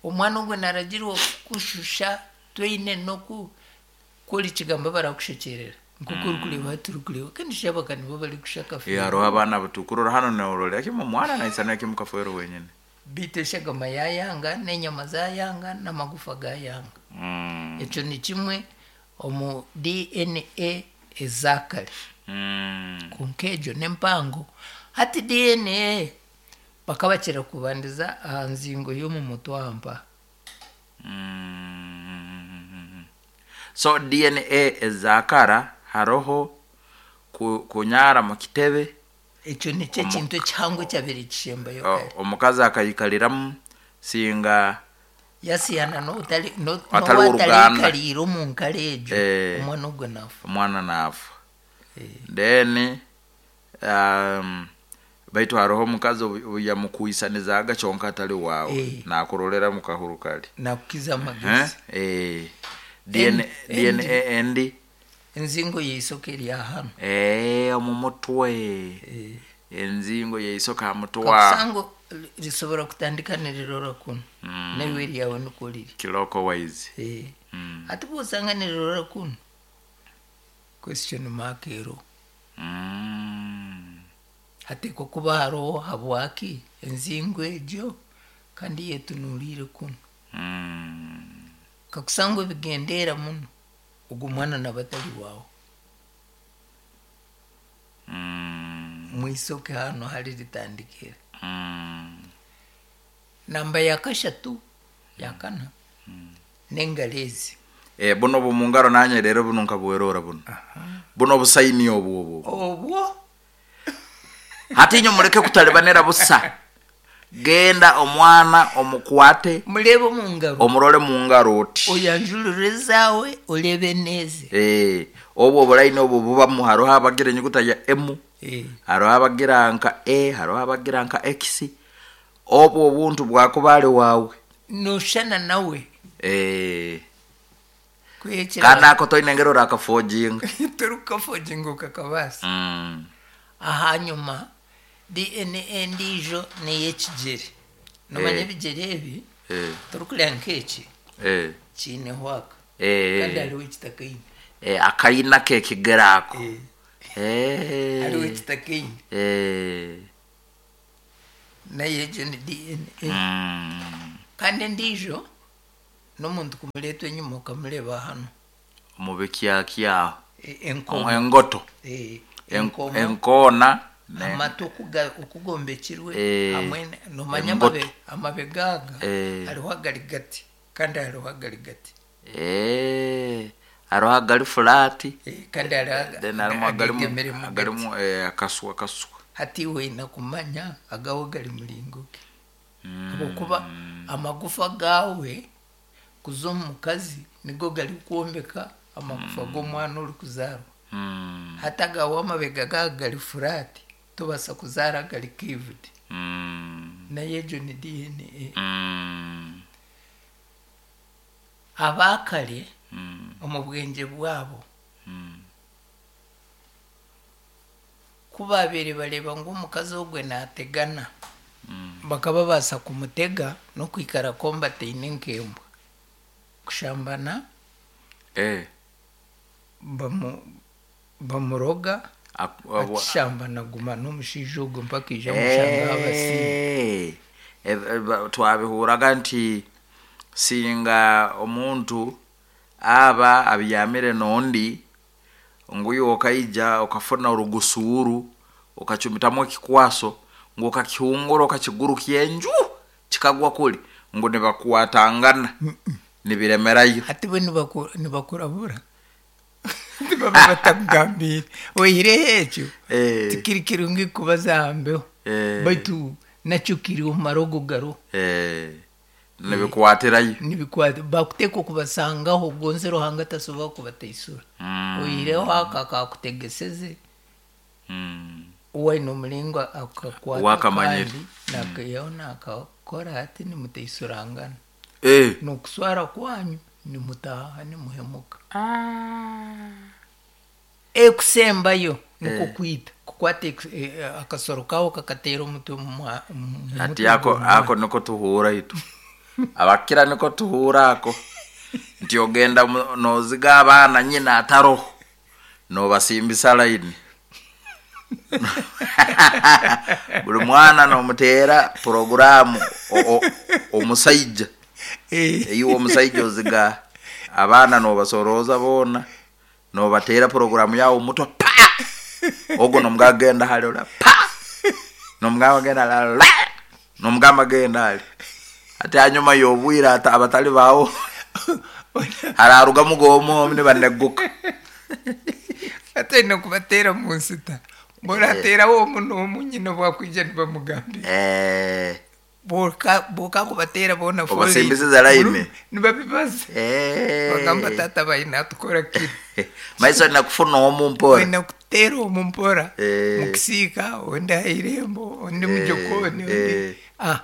Omwana ogwo naragirwa kukushusha twine noku kora ekigambo barakushekyerera nkoku orikureeba hati orikureeba kandi shabaka nibo barikushaka. Eh, hariho abaana butukurora hano nororera kimwe omwana naisana kimwe Kafeero wenyine. Bitu eshagama yayanga n'enyama zayanga n'amagufa gayanga. Mm. Ekyo ni kimwe omu D N A ezakare. Mm. Konka egyo n'empango. Hati D N A bakabakira kubandiza aha nzingo y'omu mutwampa. So D N A ezakara haroho ku- kunyara mu kitebe. Ekyo nikyo ekintu ekihango ekyabire kishembayo. O- kare omukazi akayikaliramu singa yasiyana n'otari no- atari w'uruganda. N'owatariikariire omu nkara egyo, Eh. omwana ogwo nafa. Omwana naafa. Then um, baitu haroho omukazi obu- obu yamukwisanizaaga kyonka atali waawe, Eh. nakurorera mu kahuru kali. Nakukiza amagezi. Eh? Eh. D N A, En- D N A endi enzingo yeisoka eri hano. Eh, omu mutwe, enzingo yeisoka ha mutwe. Kakusango risobora kutandika nirirora kuno, Mm. naiwe ryawe niko riri. Kiloko wise. Eh. Mm. Ati bwosanga nirirora kuno, question mark ero. Mm. Hatekwa kuba hariho habwaki enzingo egyo kandi yetunuliire kuno. Mm. Kakusanga ebigendera muno, ogwo mwana naba atari wawe. Mm. Mwisoke hano hari ritandikira. Mm. Namba ya kashatu, ya kana, n'engaro ezi. Eh, buno bumungaro nanye rero buno nkabwerora buno buno busaini obwo obwo. Obwo. Hati inyo muleke kutalibanira busa, genda omwana omukwate. Murebe omu ngaro. Omurole mu ngaro oti. Oyanjurure ezaawe orebe n'eze. Eh, obwo obulaini obwo bubamu, hariho abagira enyuguta ya M, Eh. hariho abagira nka E, hariho abagira nka X. Obwo obuntu bwakuba ali wawe. Noshana nawe. Eh, kwekira. Kandi ako toine ngero rakafojinga. Torukafojinga ukakabasa. mm. Ahanyuma D N A endiijo ney'ekigyere. Nomanya Eh. ebigyere ebi, eh, torikureeba nk'eki eh, kiineho aka, eh, kandi hariho ekitakaine. eh, akayina kekigere ako. Eh. Eh. Hariho ekitakaine. Eh. Nayo egyo ni D N A. Mm. Kandi endiijo n'omuntu kumureetwa enyuma okamureeba hano. Mubikyakyaho. E- enkomo. Engoto. Eh, En- enkomo. Enkoona ne- Amatu okuga- okugombekirwe Eh, hamwe ne- nomanya embuto. amabe amabega aga, Eh. hariho agari gati kandi hariho agari gati. Eh, hariho agali flat. Eh, kandi hariho aga- then harimu agalimu agegemere mu agalimu eh, akaswa akaswa. Hati weina kumanya agawe gari muringo ki, habwokuba amagufa gawe kuza omu mukazi nigo gari kwombeka amagufa g'omwana ori kuzaarwa. Mm. Hati agawe amabega gawe gari flat, tobasa kuzaara gari curved. Mm. Nayo egyo ni D N A. Mm. Abakare Mm. omu bwengye bwabo, Mm. ku babeire bareeba ngu omukazi ogwe nategana, Mm. bakaba babaasa kumutega n'okwikara kombataine nk'embwa kushambana. Eh. bamu bamuroga, Ak- abu- akishambana guma n'omushaija ogwo mpaka ija mushanga abasiima. Eh, eh, eh, ba- twabihuraga nti singa omuntu aba abyamire nondi nguyu okaija okafuna orugusuuru okachumitamu ekikwaso ngu okakihungura okakigurukya enju kikagwa kuli ngu nibakwatangana nibiremerayo. Hati bo nibaku- nibakurabura tibaba batakugambiire oihireho ekyo, Eh. tikiri kirungi kubaza aha mbeho, Eh. baitu Nakyo kiri omu marogo garo. Eh, nibikwatirayo. Nibikwata bakuteeka okubasangaho gonze Ruhanga tasobola kubataisura. Mm. Oihireho aka akakutegeseze. Mm. Waine omulingo akakwata Wakamanyire. kandi nakayaho nakakora ati nimutaisurangana. Eh. Nokuswara kwanyu nimutaha nimuhemuka. Ekusembayo niko Eh. kwita kukwata eku- eh, akasoro kawo kakateera omutwe mu mwa- mu Ati mutwe ako gw'omwana. ako niko tuhura itu. Abakira niko tuhura ako. Nti ogenda mu- noziga abaana nyina ataroho. Nobasimbisa line. Buli mwana nomuteera poroguramu o- o- omusaija. Iwe omusaija oziga abaana nobasorooza boona nobateera poroguramu yawe omutwe pa ogwo nomugamba genda hali ola pa nomugamba genda la nomugamba genda hali ati hanyuma yobwire ata abatali bawo hararugamu gomu nibaneguka. Ate aine kubateera mu nsita borateerawo omu n'omu nyina bwakwija nibamugambira. Eh. Boka boka kubateera boona Obasimbisiza line. Nibabibaza. Eh. Bagamba tata baine atukora kiri. Maiso nakufuna omu mpora. Oine kuteera omu mpora. Eh. Mukisiika ondi aha irembo ondi Eh, mujokoni ondi eh. ah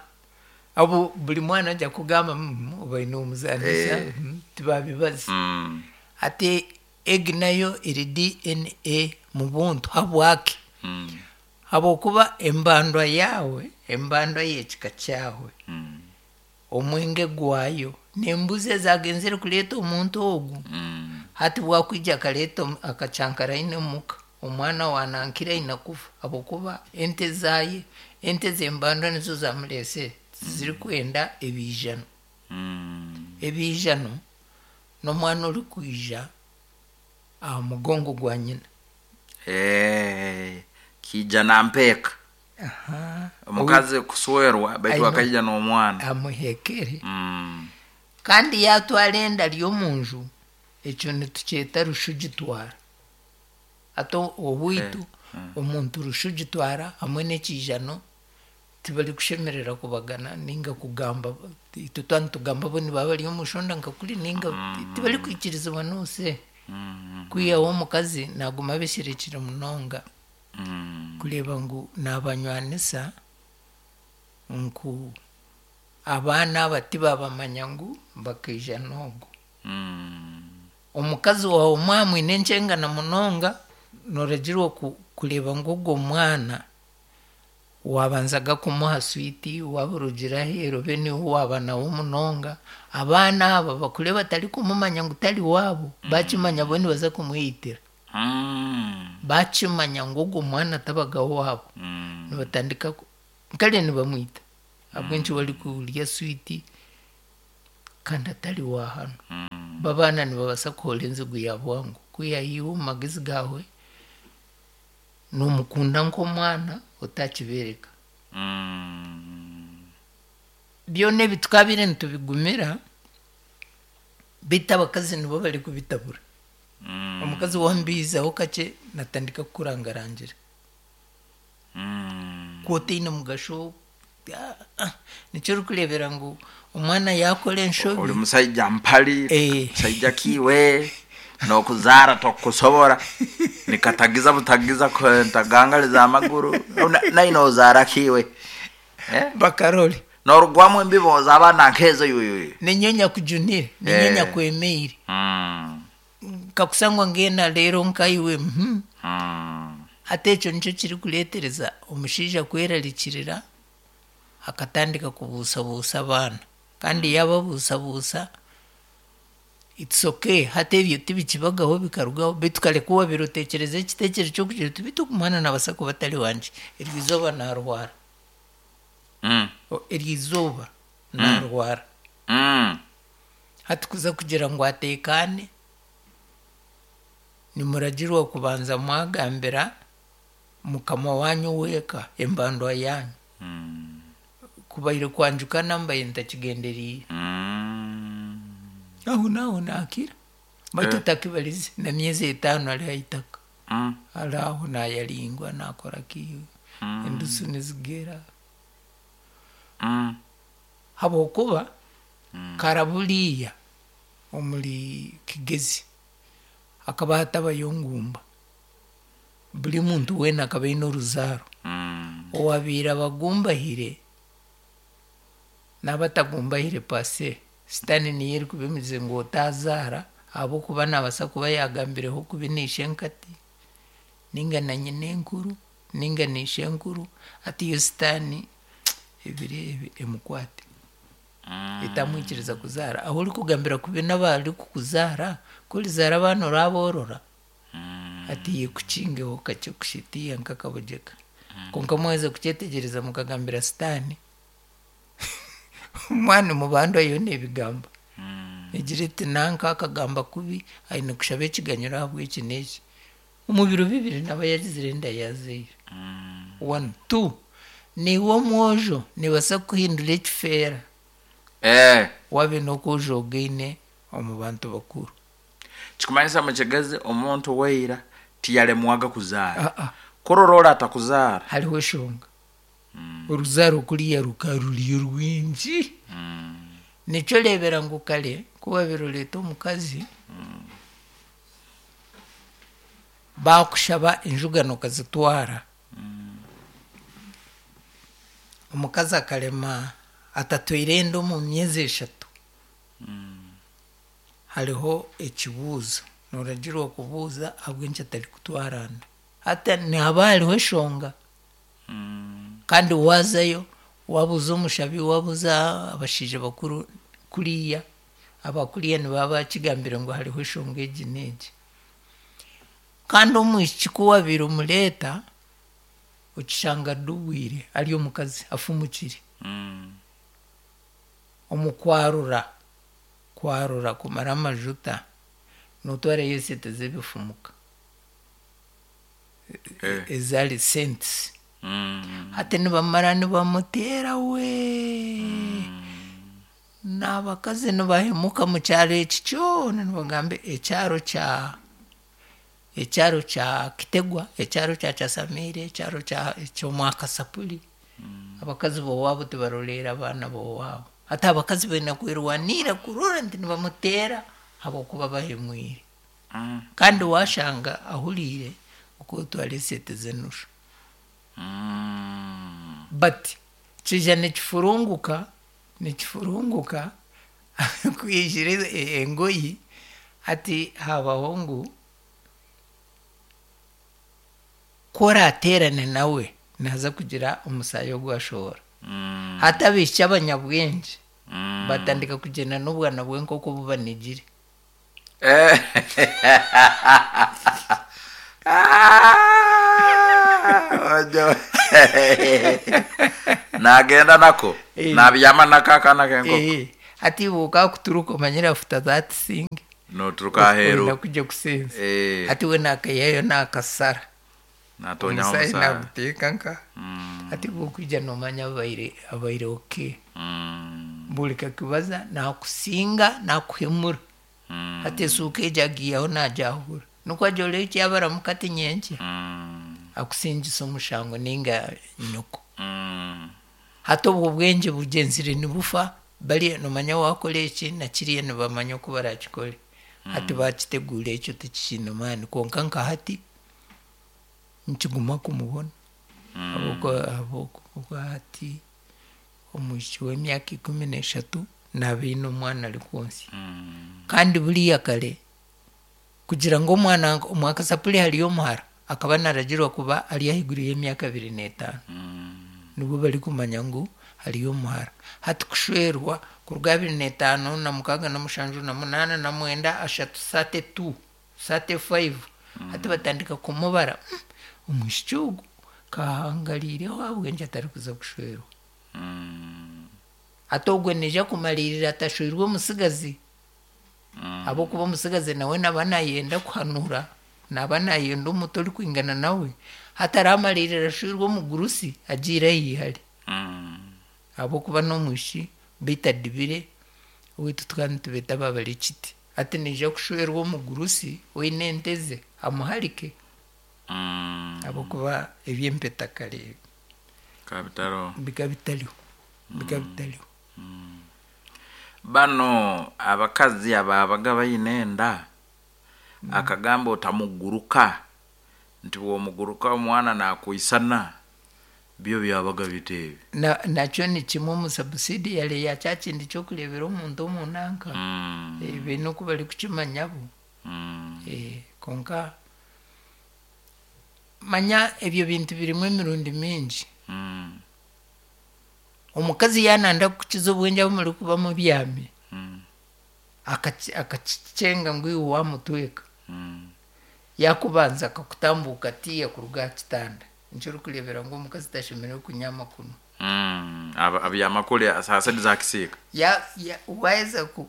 abo buli mwana ajja kugamba "Mm, obaine omuzanisa." Eh. Mm, tibabibaza. Mm. Ate egi nayo eri D N A mu buntu habwaki. Mm. Habwokuba embandwa yawe embandwa y'ekika kyawe Mm. omwenge gwayo n'embuzi ezagenzere kuleeta omuntu ogu. Mm. Hati bwakwija akaleeta omu- akacankara aine omuka omwana wanankira aine kufa habwokuba ente zaye ente z'embandwa nizo zamuleesere zirikwenda ebiijano. Mm. Ebiijano n'omwana orikwija aha mugongo gwa nyina. Eh, kija nampeeka. Aha. Omukazi kuswerwa baitu Aine- akaija n'omwana. Amuhekere. Mm. Kandi yatwara enda ry omunju ekyo nitukyeta rushugitwara. Ate owaitu Eh, mm. omuntu rushugitwara hamwe n'ekiijano tibarikushemerera kubagana ninga kugamba itwe twanitugamba bo nibaba bari omushonda nka kuri ninga tibarikwikirizibwa noose. Mm. Kwihaho omukazi naguma abesherekire munonga. Mm. Kureeba ngu nabanywanisa nku abaana aba tibabamanya ngu bakaija n'ogu. Mm. Omukazi wawe mwamwine enkyengana munonga noragirwa ku- kureeba ngu ogwo mwana wabanzaga kumuha switi waburugira aheeru obe niwe waba nawe munonga abaana aba bakure batarikumumanya ngu tari waabo bakimanya bo nibaza kumweyitira. Mm. Bakimanya ngu ogwo mwana tabaga waabo. Mm. Nibatandika ku- kare nibamwita ahabw'enki barikurya switi kandi atari wa hano. Mm. Babaana nibabaasa kuhoora enzigu ya bwangu kwiha iwe omu magezi gaawe nomukunda nk'omwana otakibeereka. Mm. Byona ebi tukabiire nitubigumira beitu abakazi nibo barikubitabura. Mm. Omukazi wambiizaho kakye natandika kukurangarangira. Mm. Kwotaine mugasho ah, ah, nikyo orikureebera ngu omwana yakora enshobi. Oli musaija mpali. Eh. Musaija kiwe nokuzaara tokusobora nikatagiza butagiza ko- ntagangaliza amaguru Na- naine ozaara kiwe. Eh? Bakarole. Norugwamu embibo abaana nkezo yuyuyu. Ninyo nyakujunire ninyo Eh. nyakwemeire. Mm. Nkakusangwa ngena leero nkaiwe mhm. Mm. Ate ekyo nikyo kirikureetereza omushaija kwerarikirira akatandika kubuusabuusa abaana kandi yababuusabuusa it's okay hati ebyo tibikibagaho bikarugaho beitu kare ku wabiire oteekyereza ekiteekyerezo ky'okugira oti beitu ogu mwana nabaasa kuba atari wangye eryo izooba naarwara. Mm. O- eryo izooba Mm. naarwara. Mm. Hati kuza kugira ngu ateekaane nimuragirwa kubanza mwagambira mukama wanyu weeka embandwa yanyu. Mm. Kubaire kwanjukana mbaire ntakigenderiire. Mm. Aho naho naakira baitu Eh. otakibarize na myezi etaano ari ahaitaka. Mm. Ari aho nayaringwa nakora ki Mm. endusu nizigera. Mm. Habwokuba kara buriya omuri Kigezi hakaba hatabayo ngumba, buri muntu weena akaba aine oruzaaro. Owabiire abagumbahire n'abatagumbahire pase sitaani niyo erikuba emize ngu otazaara, ahabw'okuba naabaasa kuba yagambireho kubi n'ishenkati ninga na nyinenkuru ninga n'ishenkuru, ati yo sitaani ebiro ebi emukwate etamwikiriza kuzaara. Ahu orikugambira kubi n'abarikukuzaara, ku orizaara abaana oraboorora, ati yekukingeho kakye kushitiya nk'akabogyeka. Kwonka mwaheza kukyetegyereza mukagambira sitaani, omwana mubandwa yo n'ebigamba egira eti nanka akagamba kubi aine kushaba ekiganyiro ahabw'eki n'eki. Omu biro bibiri naba yagizire enda yazaire. One, two, niiwe omwojo nibaasa kuhindura ekifeera Eh. wabe n'okwojo ogaine omu bantu bakuru. Kikumanyisa mukigezi omuntu weira tiyalemwaga kuzaara. Ah, ah. Kurora ora atakuzaara. Hariho eshonga. Oruzaaro kuriya ruka ruri rwingi. Nikyo oreebera ngu kare ku wabiire oreeta omukazi, bakushaba enjugano okazitwara. Omukazi akarema atatwaire enda omu myezi eshatu. Hariho ekibuuzo nooragirwa kubuuza ahabw'enki atarikutwara nda. Hati nihaba hariho eshonga. Kandi waazayo wabuuza omushabi, wabuuza abashaija bakuru kuriya, abakuriya nibaba bakigambire ngu hariho eshonga egi n'egi. Kandi omwishiki ku wabiire omureeta, okishanga adubwire ari omukazi afumukire. Omu kwarura, kwarura kumara amajuta, nootwarayo esente z'ebifumuka. Eh. Ezaari cents. Hati nibamara nibamuteera we. N'abakazi nibahemuka mu kyaro eki kyona nibagamba ekyaro kya ekyaro kya Kitegwa, ekyaro kya Kyasamire, ekyaro kya eky'Omwakasapuri. Abakazi b'owaabo tibaroreera abaana b'owaabo. Hati abakazi baine kwerwanira kurora nti nibamuteera habw'okuba bahemwire. Kandi washanga ahuriire okutwara esente z'enushu. But kija nikifurunguka, nikifurunguka kwijira engoyi hati habaho ngu ku orateerane nawe naaza kugira omusaayi ogwashohora. Hati abaishiki abanyabwengye batandika kugyenda n'obwana bw'enkoko bubanigire. Eh. Nagenda nako Eh. nabyama nako akaana k'enkoko. Eh, hati iwe okakuturuka omanyire after that thing Noturuka aheeru. oyina kujya kusenza. Eh. Hati we nakayihayo nakasara. Natonyaho Omusaayi omusaayi. naguteeka nka. Hati iwe okwija nomanya abaire abaire okay. Buri kakibaza nakusinga nakuhemura. Hati esuuka egyo agiihaho nagyahura. Nikwo agyora eki yabaramuka ati nyenkya. Akusingisa omushango ninga nyoko. Hati obwo bwengye bugyenzire nibufa, bariya nomanya wakora eki na kiriya nibamanya oku barakikore. Hati bakiteguura ekyo tikikiine maani kwonka nka hati nikiguma kumubona. Ahabw'okuba ahabw'okuba hati omwishiki w'emyaka ikumi n'eshatu naaba aine omwana arikwonsya. Kandi buriya kare kugira ngu omwana omwakasapuri hariyo omuhara akaba naragirwa kuba ari ahaiguru y'emyaka abiri n'etaano. Nibwo barikumanya ngu hariyo omuhara. Hati kushwerwa kuruga abiri n'etaano na mukaaga na mushanju na munaana na mwenda ashatu thirty two, thirty five. Hati batandika kumubara, omwishiki ogu kahangariireho ahabw'enki atarikuza kushwerwa. Hati ogwe naija kumariirira atashweirwe omutsigazi. Ahabw'okuba omutsigazi nawe naaba nayenda kuhanura, naaba nayenda omuto orikwingana nawe. Hati aramariirira ashweirwe omugurusi agiire ah'ihari. Ahabw'okuba n'omwishiki beitu adibire, owaitu tukaba nitubeeta ababarikiti. Hati naija kushwerwa omugurusi oine ente ze amuharike. Ahabw'okuba eby'empeta kare Bikaba bitariho. bikaba bitariho. Bikaba bitariho. Bano abakazi ababaga baine enda, akagamba otamuguruka, nti bw'omuguruka omwana nakwisana, byo byabaga biteebi. Na- nakyo ni kimwe omu subsidiary ya kya kindi ky'okureebera omuntu omu nanka. Mm. Eh, baine oku barikukimanya bo. Mm. Eh, konka manya ebyo bintu birimu emirundi mingi. Mm. Omukazi yananda kukiza obwengye abu murikuba mubyami, Mm. akaci- akakicenga ngu iwe wamutweka. Mm. Yakubanza akakutambuuka tiya kuruga aha kitanda, nikyo orikureebera ngu omukazi tashemereire kunyama kunu. Mm. Aba- abyama kuri saa sita za kisiika. Ya, ya, waheza ku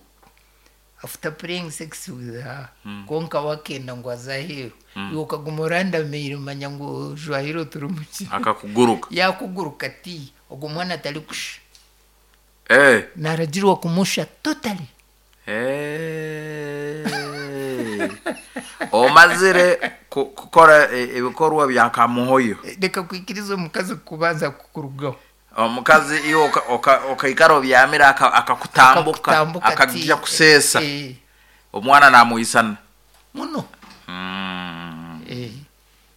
after playing sex with her, Mm. konka wakenda ngu aze aheeru, Mm. iwe okaguma orandamiire, manya ngu ojwahire oturi muki. Akakuguruka. Yakuguruka ti ogwo mwana atarikusha. Eh. Naragirwa kumusha totally. Eh. Omazire ku- kukora e- ebikorwa bya kamuhoyo. Reka kwikiriza omukazi kubanza kukurugaho. Omukazi iwe oka- oka- okaikara obyamire aka- akakutambuka, Akakutambuka akajja ti- kuseesa. eh. Omwana namwisana muno. Mm. Eh,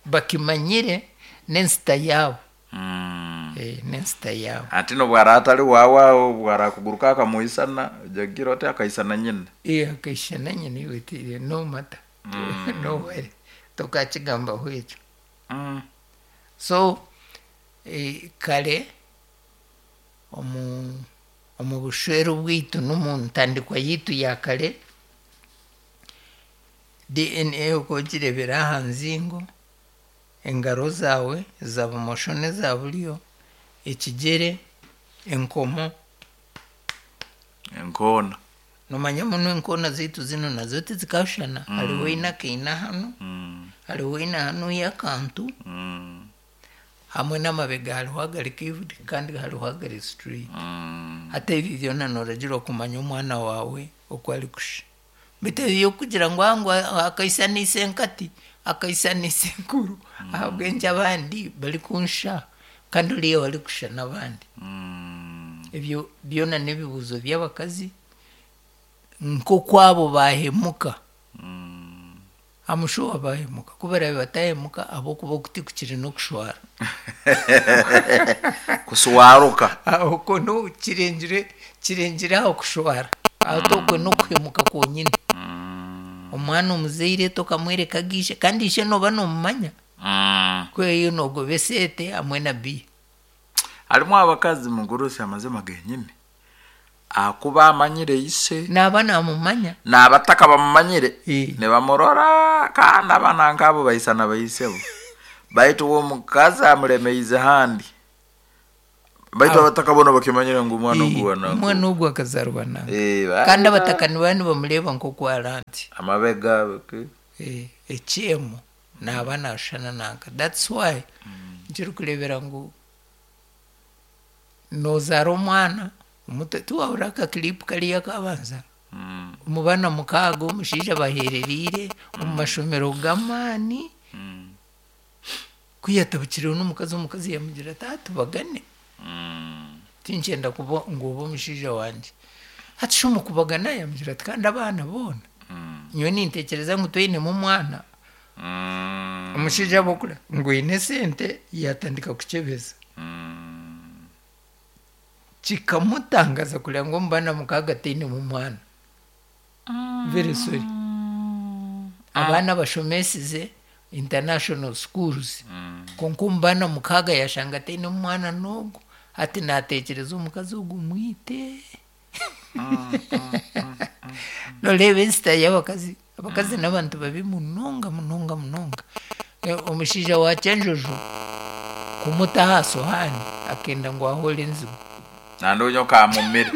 bakimanyire n'ensita yaabo. Mm. Eh, n'ensita yaabo. Ati nobwara atali wawawo bwara kuguruka akamwisana, ojagira oti akaisana nyina. Eh, akaishana nyina, iwe tiri no mata. Mm. No worry, tokakigambaho ekyo. Mm. So eh, kare omu omu bushwere bwaitu n'omu ntandikwa yaitu ya kare, D N A oku ogireebera aha nzingo, engaro zaawe eza bumosho n'eza buryo, ekigyere, enkomo. Enkoona. Nomanya muno enkoona zaitu zinu nazo tizikashushana. Mm. Hariho eine akaina hanu, Mm. hariho eine hanu y'akantu, Mm. hamwe n'amabega hariho agari curved kandi hariho agari straight. Mm. Hati ebi byona noragirwa kumanya omwana waawe oku arikusha. Bitu ebyokugira ngu ngu akaisanisa enkati, akaisanisa enkuru, ahabw'enki abandi barikunsha kandi oriya barikusha n'abandi? Ebyo byona n'ebibuuzo by'abakazi nk'okwabo bahemuka. Amushuwa bahemuka, ku barabe batahemuka ahabw'okuba okuti kukiri n'okushwara. Kuswaruka. Okwo no kirengire kirengire aho kushwara, ate okwo n'okuhemuka kwonyine. Omwana omuzaire tokamwereka agishe, kandi ishe noba nomumanya. Mm. Kweyo nogoba esente hamwe na biya. Harimu abakazi mugurusi amazima genyini akuba amanyire ise. Naba namumanya. N'abataka bamumanyire nibamurora, kandi abana nkabo baisana baisebo, baitu uwo mukazi amulemeize handi, baitu Abo- abataka bona bakimanyire ngu omwana ogu wana omwana ogu akazarwa nange. Eh, ba- Kandi abataka nibaba nibamureeba nk'oku aranti. Amabega ke. Eh, ekyemo naba nashushana nanka. That's why nkirikureebera ngu nozaara omwana omuto, tiwahurira akakilipu kariya akabanza omu baana mukaaga omushaija bahereriire omu mashomero g'amaani, ku yatabukireho n'omukazi, omukazi yamugira ati, "Ah, tubagane, tinkyenda kuba ngu obe omushaija wangye." Hati shi omu kubagana yamugira ati, "Kandi abaana boona nyowe nintekyereza ngu twinemu omwana." Omushaija abokura ngu oine esente, yatandika kukyebeza, kikamutangaza kureba ngu omu baana mukaaga tainemu omwana. Very sorry, abaana bashomesize international schools, konka omu baana mukaaga yashanga ataine omwana n'ogwo. Hati natekyereza omukazi ogu mwite. Noreeba ensita y'abakazi, abakazi n'abantu babi munonga munonga munonga. Eh, omushaija wa Kyenjojo kumuta aha sohaani akenda ngu ahore enzigu. Nandonyo kamumire.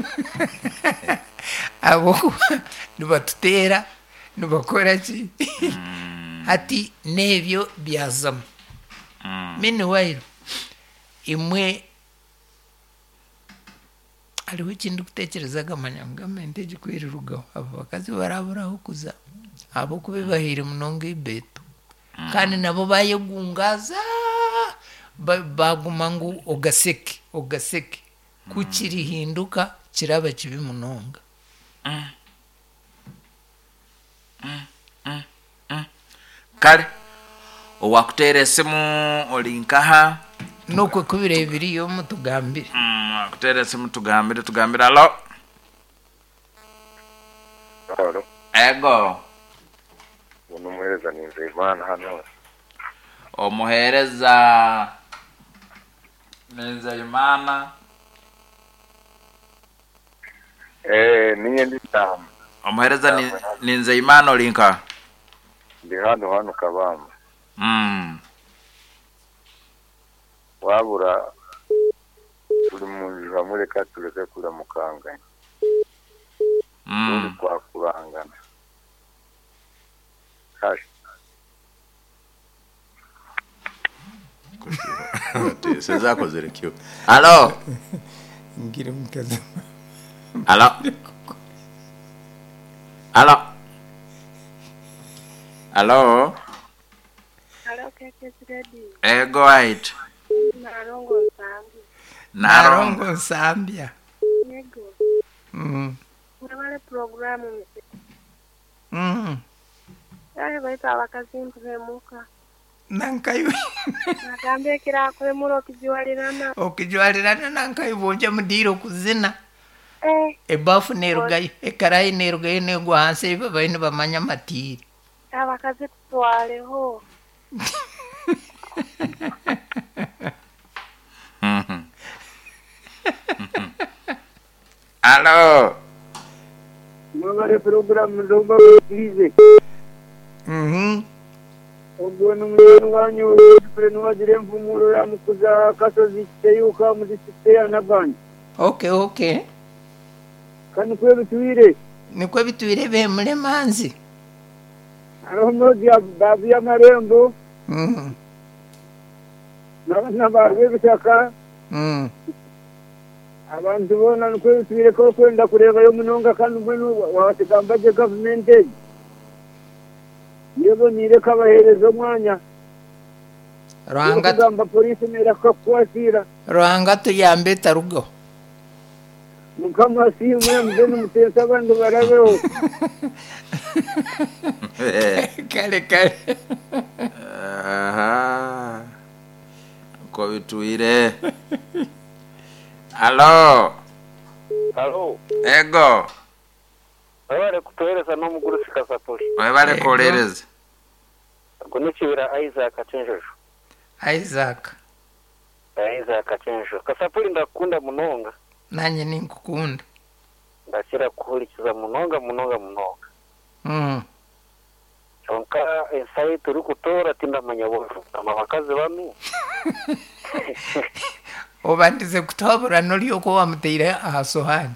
Ahabwokuba nibatuteera, nibakora ki, hati n'ebyo byazamu. Meanwhile imwe hariho ekindi kutekyereza, agamanya ngu gavumenti egi kwerirugaho abo bakazi baraburaho kuza, ahabwokuba ebahaire munonga ibeeto, kandi nabo bayegungaza, ba- baguma ngu ogaseke ogaseke. Ku kirihinduka kiraba kibi munonga. Kale owakuteera esimu oli nkaha? Nokwe kubira ebiriyo mutugambire. Mm, akuteera esimu tugambire tugambire. Alo? Halo, ego. Uno umuhereza ni Nzeyimana hano. Omuheereza ni Nzeyimana. Eh, ninye ndi tamu. Omuheereza ni, ni Nzeyimana, oli nkaha? Ndi hano hano Kabamba. Mm. Wabura turi mu nzu hamwe, reka tureke kuramukanganya. Mm. Turi kwakurangana. Kashi. Sezakozere kyo. Alo? Ngira omukazi. Alo? Alo? Alo? Hello, K K S Radio. Ego right. Narongo Nsambya. Narongo Nsambya. Yego. Mm. Mwebale programu mse. Mm. Yaye baita abakazi ntuhemuka. Nankayu. Nagambe kira kwemura okijwalirana. Okijwalirana nankayu bonja mudiro kuzina. Eh. Ebafu nerugayo, ekarayi nerugayo negwa hansi babaine bamanya matiri. Abakazi tutwaleho. Mhm. Alo? Mwebale programu ndomba bakirize. Mhm. Ogwo n'omunyoni wanyu niwagira envumuro ya Mukuza Kasozi Kiteyuka mu disitulikiti ya Nabanja. Okay, okay. Kandi nikwo bitwire. Nikwo bitwire bemure manzi. Hariho Modi Babu y'amarembo. Mhm. N'abaana b'ebitaka. Mm. Abantu boona nikwo bitwire ko kwenda kureebayo munonga kandi mbwenu wabatigamba gye gavumenti egi. Yeboniire kabaheereza omwanya. Ruhanga kugamba polisi neera kukakukwatira. Ruhanga tuyambe tarugaho. Mukama asiimwe mugende muteese abandi barabeho. Kale kale. Aha. Ko bitwire. Alo? Alo. Ego. Webale kutuhereza n'omugurusi Kasapuli. Webale kuhereza. Ogwo n'ekibira Isaac Kyenjojo. Isaac. Isaac Kyenjojo. Kasapuli ndakukunda munonga. Nanye ninkukunda. Ndakira kuhurikiza munonga munonga munonga. Mm. Kyonka ensayi turikutoora tindamanya bw'ama bakazi banu. Obandize kutabura n'oryoka wamuteire aha sohani.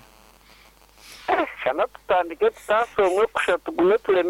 Shana tutandike tutasomwe kusha tugume tureme.